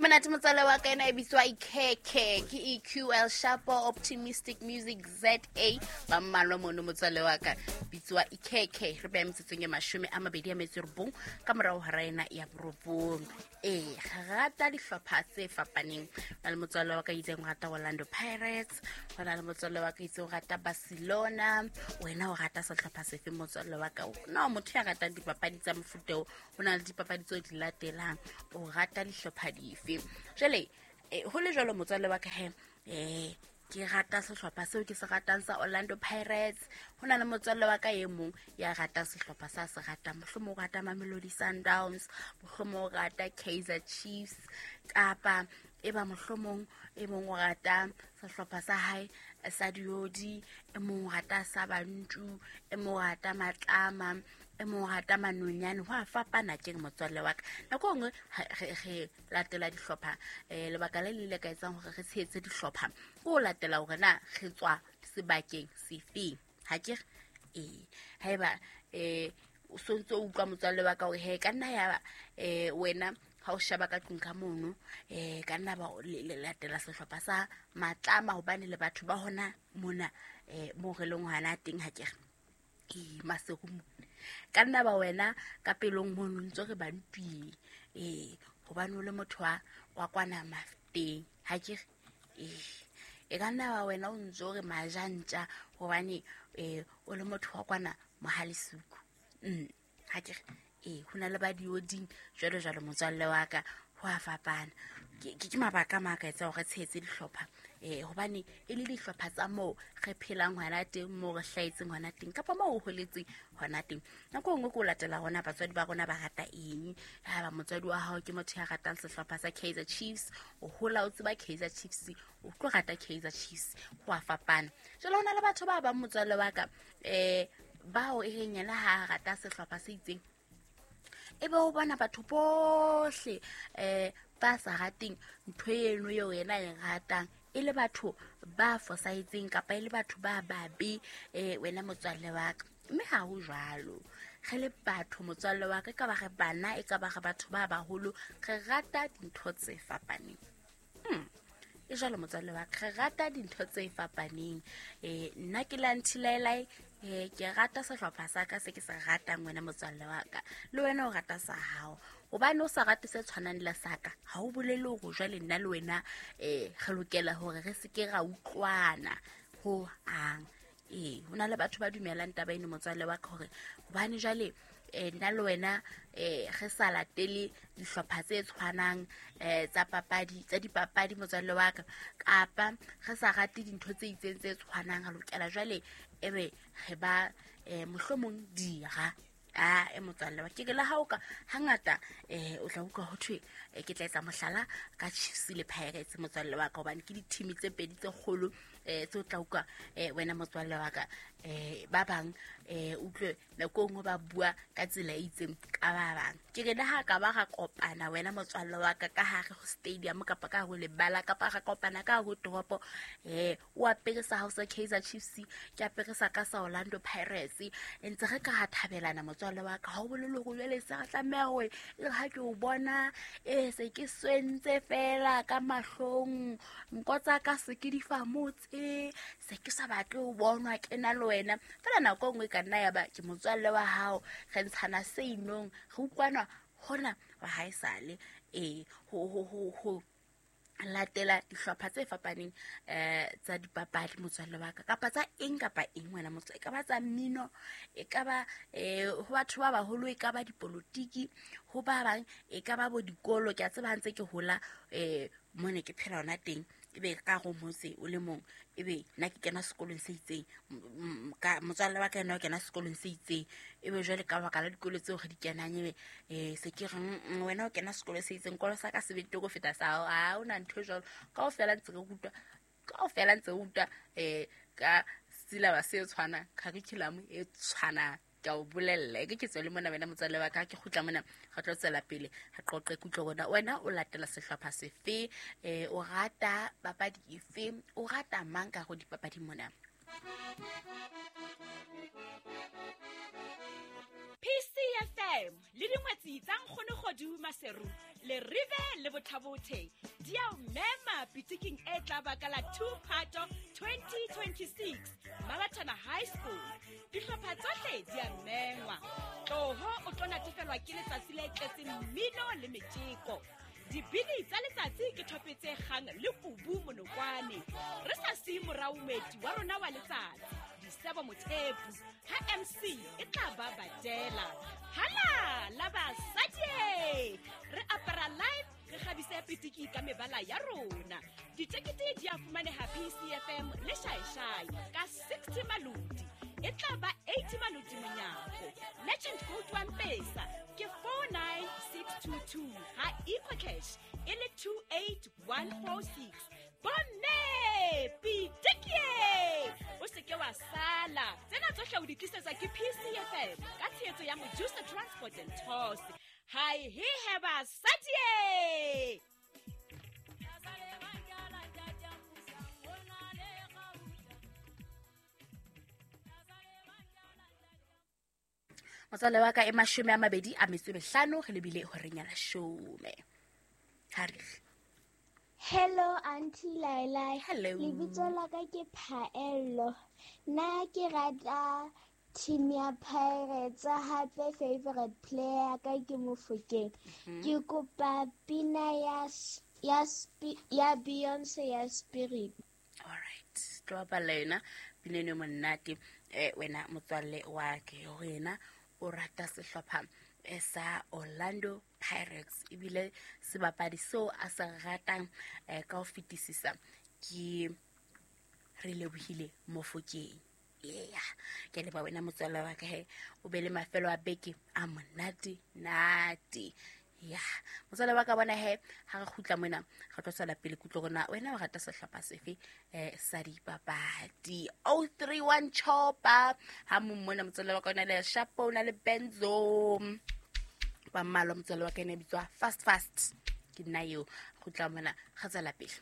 Monate motswalle wa ka, ena e bitswa Ikhekhe, ke EQL Shapo Optimistic Music ZA ba mmalwa mono. Motswalle wa ka, bitswa Ikhekhe. Re beya metsotsong e 29 ka morago hora ena ya 9. Ee, re rata dihlopha tse fapaneng. Go na le motswalle wa ka itseng o rata Orlando Pirates, go na le motswalle wa ka itseng o rata Barcelona. Wena o rata sehlopha sefe, motswalle wa ka? No motho ya ratang dipapadi tsa mofuta o, go na le dipapadi tseo di latelang, o rata dihlopha dife? Jale go le jalo, motswalle wa ka, he ke rata sehlopha seo ke se ratang sa Orlando Pirates. Go na le motswalle wa ka e mong ya ratang sehlopha sa se ratang, mohlomong o rata Mamelodi Sundowns, mohlomong o rata Kaizer Chiefs, kapa e ba mohlomong e mong o rata sehlopha sa hae sa diodi, e mong o rata sa bantu, e mong o rata matlama, e mong o rata manonyane. Go a fapana keng, motswalle wa ka. Nako e nngwe re latela dihlopha, lebaka le le ile ka etsang gore re tshehetse dihlopha ke go latela gore na re tswa sebakeng sefeng, ga ke re? Ee, ga eba o sontse o utlwa, motswalle wa ka, gore he ka nna ya ba wena ga o shaba ka tlung ka mono, ka nna ba le latela sehlopha sa matlama gobane le batho ba gona mona mo re leng gona teng, ga ke re? Ee, Maseru mo. Ka nna ba wena ka pelong mono ntse re bantwing, ee, gobane o le motho wa kwana Mafeteng, ga ke re? Ee, e ka nna ba wena o ntse o re majantja gobane o le motho wa kwana Mohalesuku, ga ke re? Ee, go na le ba dioding, jalo jalo, motswalle wa ka. Go a fapana. Ke mabaka a maka etsa gore tshehetse dihlopha, gobane e le dihlopha tsa moo re phelang hona teng, moo re hlahetseng hona teng, kapa moo o holetseng hona teng. Nako e nngwe ke o latela rona batswadi ba rona ba rata eng. Haeba motswadi wa hao ke motho ya ratang sehlopha sa Kaizer Chiefs, o hola o tseba Kaizer Chiefs, o tlo rata Kaizer Chiefs. Go a fapana. Jalo go na le batho ba bang, motswalle wa ka, bao e reng yena ha a rata sehlopha se itseng, e be o bona batho bohle ba sa rateng ntho eno eo yena e ratang e le batho ba fosahetseng kapa e le batho ba babe, wena motswalle wa ka. Mme ha ho jwalo. Re le batho, motswalle wa ka, e ka ba re bana, e ka ba re batho ba baholo, re rata dintho tse fapaneng. E jalo, motswalle wa ka, re rata dintho tse fapaneng. Nna ke la Nthilaelae, ke rata sehlopha sa ka se ke se ratang. Wena motswalle wa ka, le wena o rata sa hao. Gobane o sa rate se tshwanang le sa ka, ga o bolele gore jwale nna le wena re lokela gore re seke ra utlwana ho ang. Ee, go na le batho ba dumelang taba eno, motswalle wa ka, gore gobane jwale nna le wena re sa latele dihlopha tse tshwanang tsa papadi, tsa dipapadi, motswalle wa ka, kapa re sa rate dintho tse itseng tse tshwanang, re lokela jwale ebe re ba mohlomong dira a e. Motswalle wa ke ke le ha o ka hangata o tla utlwa ho thwe, ke tla etsa mohlala ka Chiefs le Pirates, motswalle wa ka, hobane ke di-team tse pedi tse kgolo tse o tla utlwa, wena motswalle wa ka, ba bang utlwe nako e nngwe ba bua ka tsela e itseng ka ba bang. Ke re le ha ka ba ra kopana, wena motswalle wa ka, ka hare ho stadium kapa ka hare ho lebala, kapa ra kopana ka hare ho toropo, o apere sa hao sa Kaizer Chiefs, ke apere sa ka sa Orlando Pirates, ntse re ka ha thabelana, motswalle wa ka, ha o bolele hore jwale se re tlameha hore e re ha ke o bona se ke swentse fela ka mahlong, nko tsa ka se ke di famotse, se ke sa batle ho bonwa ke na le wena. Fela nako e nngwe e ka nna ya ba ke motswalle wa hao, re ntshana se inong, re utlwana hona wa hae sale. Ee, ho latela dihlopha tse fapaneng tsa dipapadi, motswalle wa ka, kapa tsa eng kapa eng, wena motswalle, e ka ba tsa mmino, e ka ba ho batho ba baholo, e ka ba dipolotiki, ho ba bang e ka ba bo dikolo. Ke a tseba ha ntse ke hola, mo ne ke phela hona teng, ebe ka go motse o le mong, ebe nna ke kena sekolong se itseng, ka motswalle wa ka ena o kena sekolong se itseng, ebe jwale ka baka la dikolo tseo re di kenang, ebe se ke re, wena o kena sekolo se itseng, kolo sa ka se betere go feta sa hao." Ha o na ntho e jwalo. Kaofela ntse re rutwa, kaofela ntse re rutwa ka syllabus se tshwanang, curriculum e tshwanang. Ke a o bolella, e ke ke tswele mona, wena motswalle wa ka. Ke kgutla mona, re tlo tswela pele re qoqe kutlo rona. Wena o latela sehlopha sefe? O rata papadi efe? O rata mang ka go dipapadi mona? PCFM le dingwetsi tsa Nkgonogodu Maseru le Rive le Bothabothe di a o mema pitiking e tla baka la 2 Phato 2026 Mabatana High School. Dihlopha tsohle di a mengwa. Tloho o tlo natefelwa ke letsatsi le tletseng mmino le metjeko. Dibini tsa letsatsi ke thope tse kgang le kubu monokwane. Re sa siye morao moeti wa rona wa letsatsi, Disebo Mothepu, ha MC e tla ba Badela. Hala la basadi! Re apara live, re kgabise pitiki ka mebala ya rona. Ditekete di a fumaneha PCFM le Shaeshai ka 60 maloti. E tla ba 80 maloti monyako. Legend Gold wa Mpesa ke 49622 ha EcoCash e le 28146. Bomme pitikie! O se ke wa sala. Tsena tsohle o di tlisetswa ke PCFM ka tshehetso ya Mojusa Transport and Tours. Hai he he basadi! Motswalle wa ka e 25 re lebile horeng ya leshome. Ha re Hello Auntie Laila. Hello. Lebitso la ka ke Phaello. Nna ke rata team ya Pirates, hape favorite player ya ka ke Mofokeng. Ke kopa pina ya ya ya Beyonce ya Spirit. All right. Tlo bapalla yona pina eno e monate. Wena motswalle wa ke hore yena o rata sehlopha sa Orlando Pirates, ebile sebapadi seo a se ratang ka ho fetisisa ke re lebohile Mofokeng. Yeah, ke leboha wena motswalle wa ka he, o be le mafelo a beke a monate nate. Ya motswalle wa ka bona he, ha re kgutla mona re tlo tswela pele kutlo rona wena o rata sehlopha sefe sa dipapadi. 031 Chopa ha mong mona motswalle wa ka o na le Shapo, o na le Benzo ba mmalwa. Motswalle wa ka ene bitswa Fast Fast, ke nna eo. Kgutla mona re tswela pele.